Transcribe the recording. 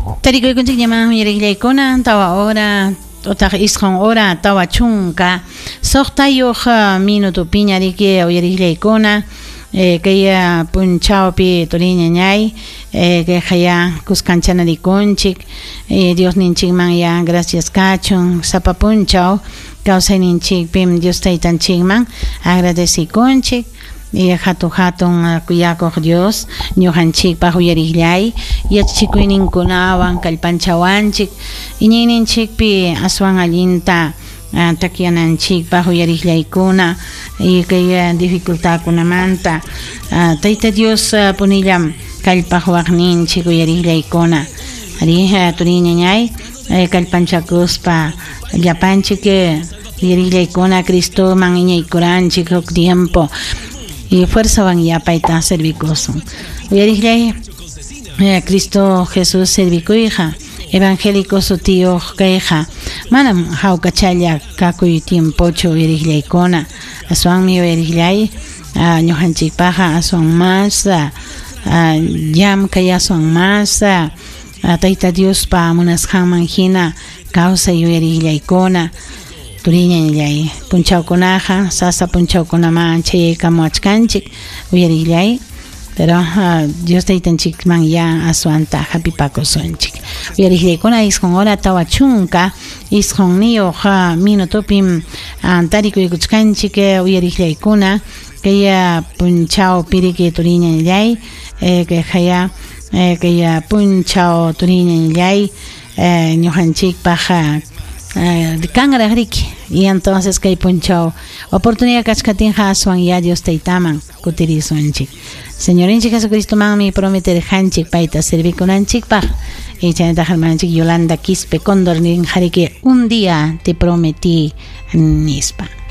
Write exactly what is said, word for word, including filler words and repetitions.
Tarikuykunchik ñaman uyariqllaykuna tawa hora utaq isqun hora tawa chunka suqtayuq minutupiña riki uyariqllaykuna eh, kay punchawpi turiñañay eh, kayqa ya kuskanchana rikunchik eh, Dios ninchikman ya gracias kachun sapa punchaw kawsayninchikpim Dios taytanchikman agradecikunchik y hatu hatun kuyakuq Dios ñuqanchikpaq uyariqllay yachachikuyninkunawan kallpanchawanchik iñiyninchikpi aswan allinta takyananchikpaq uyariqllaykuna y kay dificultadkunamanta Tayta Dios punillam kallpaqwaqninchik uyariqllaykuna ari turiñañay kallpanchakuspa llapanchik uyariqllaykuna Cristoman iñiykuranchik huk tiempo y fuerzawan yapayta servikusun uyariqllay Cristo Jesús servikuyqa evangélico sutiyuq kayqa manam hawkachalla kakuy tiempochu uyariqllaykuna aswanmi uyariqllay ñuqanchikpaqqa aswan mas llamkay aswan mas Tayta Diospa munasqanman hina kawsay uyariqllaykuna turiñañallay punchawkunaqa sasa punchawkunaman chayaykamuwachkanchik uyariqllay pero uh, Dios taytanchikman ya aswanta hapipakusunchik uyariqllaykuna isqun hora tawa chunka isqunniyuq minutupim tarikuykuchkanchik uyariqllaykuna kay punchaw piriki turiñañallay kay kay punchaw turiñañallay ñuqanchikpaq kanraq riki y entonces kay punchaw oportunidad kachkatinqa aswan ya Dios taytaman kutirisunchik Señorinchik Jesucristomanmi prometerqanchik payta servikunanchikpaq y chaynataq hermananchik Yolanda Quispe Cóndor ninqa riki un día te prometí nispa.